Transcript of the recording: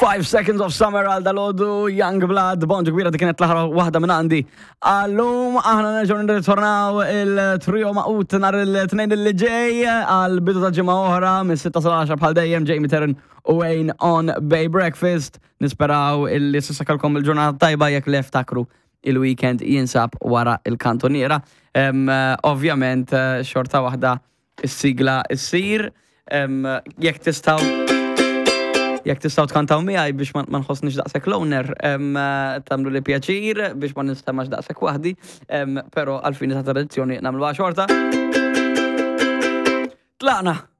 5 Seconds of Summer għal dalodu, Young Blood, bonġu kbira dik kienet l-aħħar waħda minn għandi. Għallum aħna nerġgħu nirritornaw il-trio maqut nhar il-tnejn li ġej għal bidu ta' ġimgħa oħra minn 6 sal-10 bħal dejjem Jamie Terran u Wayne on Bay Breakfast. Nisperaw illi s'issa kellkom il-ġurnata tajba jekk le ftakru il-weekend jinsab wara il-kantoniera. Ovvjament xorta waħda Is-sigla ssir, jekk tistgħu jekk tistgħu tkantaw miegħi biex ma nħossniex daqshekk loner, tagħmlu li pjaċir biex ma nistemax daqshekk waħdi, però għall-fini ta' tradizzjoni nagħmluha xorta. Tlaqna!